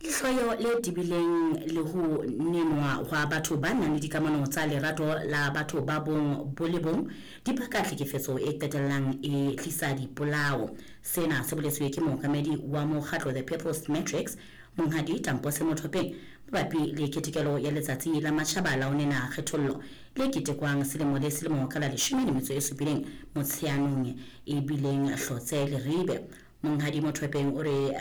Lehloyo le tebileng le ho nenwa hwa batho ba nang le dikamano tsa lerato la batho ba bong bo le bong di baka tlhekefetso e qetellang e tlisa dipolao. Sena se boletswe ke mookamedi wa mokgatlo The People's Matrix, Monghadi Tampose Mothopeng, mabapi le ketekelo ya Letsatsi la Matjhaba la ho Nena Kgethollo le ketekwang selemo le selemo ka la 17 Motsheanong e bileng Hlotse Leribe. Monghadi Mothopeng o re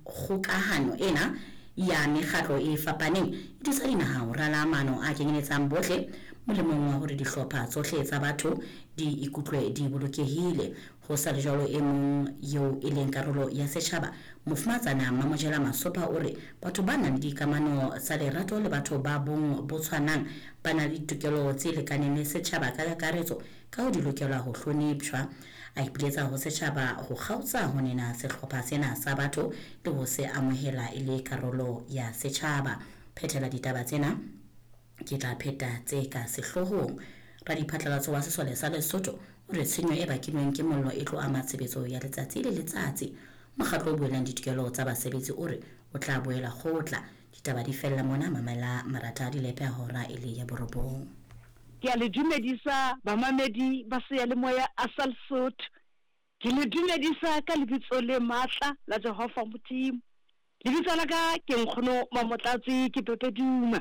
kgokahano ena ya mekgatlo e fapaneng e thusa dinaha ho rala maano a kenyeletsang bohle molemong wa hore dihlopha tsohle tsa batho di ikutlwe di bolokehile. Ho sa le jwalo, e mong eo e leng karolo ya setjhaba, Mofumahatsana Mmamojela Masopha o re batho ba nang le dikamano tsa lerato le batho ba bong bo tshwanang ba na le ditokelo tse lekaneng le setjhaba ka kakaretso ka ho di lokelwa ho hlonepshwa. A ipiletsa ho setjhaba ho kgaotsa ho nena sehlopha sena sa batho le ho se amohela e le karolo ya setjhaba. Phethela ditaba tsena ke tla pheta tse ka sehloohong. Radiphatlalatso wa sesole sa Lesotho o re tshenyo e bakilweng ke mollo e tlo ama tshebetso ya letsatsi le letsatsi. Mokgatlo o buellang ditokelo tsa basebetsi o re o tla boela kgotla. Ditaba di fella mona, mamela marata a dilepe a hora e le ya borobong. Ke a le dumedisa bamamedi ba seyalemoya a sa Lesotho. Ke le dumedisa ka lebitso le matla la Jehova Modimo. Lebitso la ka ke Nkgono Mamotlatsi ke Pepe Duma.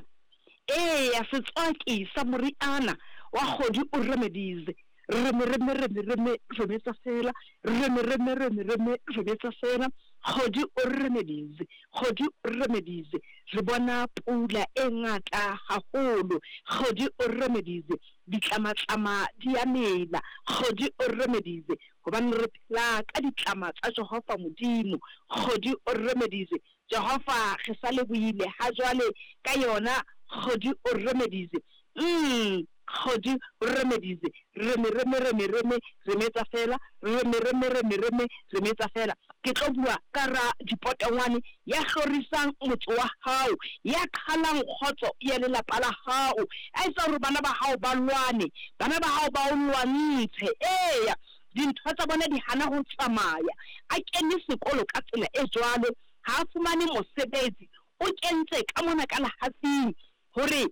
Eya, setswaki sa moriana wa kgodi o remedize. Reme reme reme reme remetsa fela. Reme reme reme reme remetsa fela. Kgodi o remedize. Kgodi o remedize. Re bona pula e ngata haholo. Kgodi o remedize. Ditlamatlama di a mela. Kgodi o remedize. Hobane re phela ka ditlama tsa Jehova Modimo. Kgodi o remedize. Jehova re sa lebohile ha jwale ka yona. Kgodi o remedize. Umm. Kgodi remedize. Reme reme reme reme remetsa fela. Reme reme reme reme remetsa fela. Ke tlo bua ka ra dipotongwane ya hlorisang motse wa hao, ya qhalang kgotso ya lelapa la hao, a etsa hore bana ba hao ba lwane, bana ba hao ba o lwantshe. Eya, dintho tsa bona di hana ho tsamaya. A kene sekolo ka tsela e jwalo, ha a fumane mosebetsi, o kentse ka mona ka lehafing hore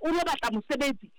o lo batla mosebetsi.